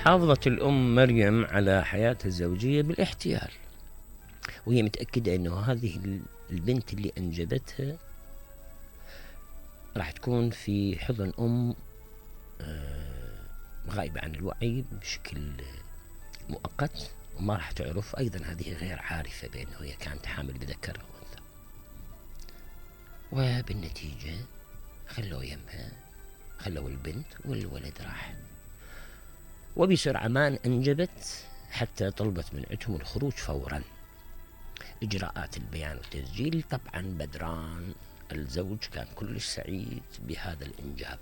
حافظت الأم مريم على حياتها الزوجية بالاحتيال، وهي متأكدة أنه هذه البنت اللي أنجبتها راح تكون في حضن أم غائبة عن الوعي بشكل مؤقت، وما راح تعرف. أيضا هذه غير عارفة بأنه هي كانت حامل بذكر أو أنثى، وبالنتيجة خلوا يمها، خلوا البنت والولد راح. وبسرعة ما أنجبت حتى طلبت من عندهم الخروج فورا. إجراءات البيان والتسجيل طبعا بدران الزوج كان كلش سعيد بهذا الإنجاب،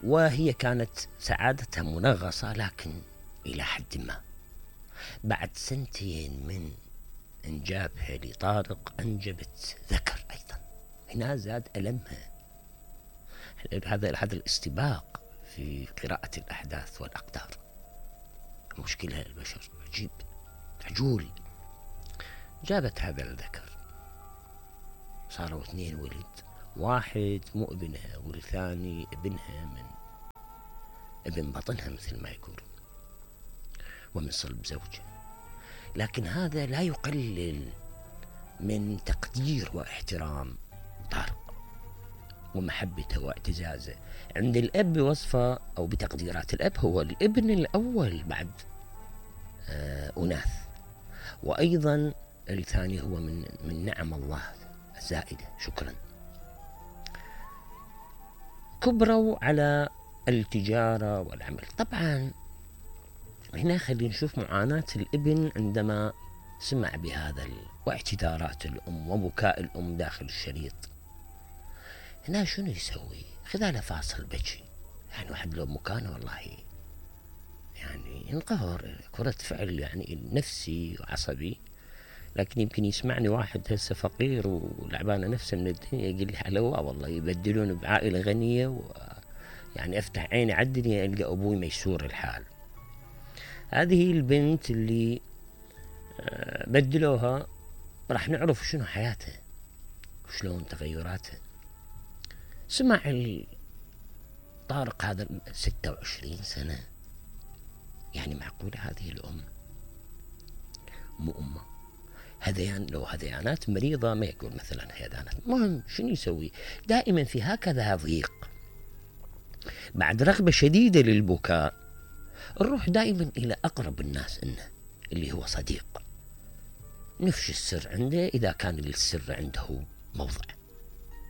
وهي كانت سعادتها منغصة، لكن إلى حد ما بعد 2 سنين من إنجابها لطارق أنجبت ذكر أيضا. هنا زاد ألمها. هذا الاستباق في قراءة الأحداث والأقدار. مشكلة البشر عجيب، عجول. جابت هذا الذكر، صاروا 2 ولد، واحد مو ابنها والثاني ابنها من ابن بطنها مثل ما يقول، ومن صلب زوجها. لكن هذا لا يقلل من تقدير واحترام طارق ومحبته واعتزازه. عند الأب بوصفه أو بتقديرات الأب هو الابن الأول بعد أناث، وأيضا الثاني هو من نعم الله الزائدة. شكرا. كبروا على التجارة والعمل. طبعا هنا خلينا نشوف معاناة الابن عندما سمع بهذا واعتذارات الأم وبكاء الأم داخل الشريط. هنا شنو يسوي؟ خذاله فاصل بكي. يعني واحد لو مكانه والله يعني ينقهر، كرة فعل يعني نفسي وعصبي. لكن يمكن يسمعني واحد هسه فقير ولعبانه نفسه من الدنيا يقول لي حلوة والله يبدلون بعائلة غنية، يعني افتح عيني على الدنيا القى ابوي ميسور الحال. هذه البنت اللي بدلوها راح نعرف شنو حياتها وشلون تغيراتها. سمع طارق هذا 26 سنة، يعني معقولة هذه الأم مو أمه؟ هذيان لو هذيانات مريضة ما يقول مثلا هذيانات. مهم شنو يسوي؟ دائما في هكذا ضيق بعد رغبة شديدة للبكاء نروح دائما إلى أقرب الناس إنه اللي هو صديق، نفشي السر عنده إذا كان للسر عنده موضع.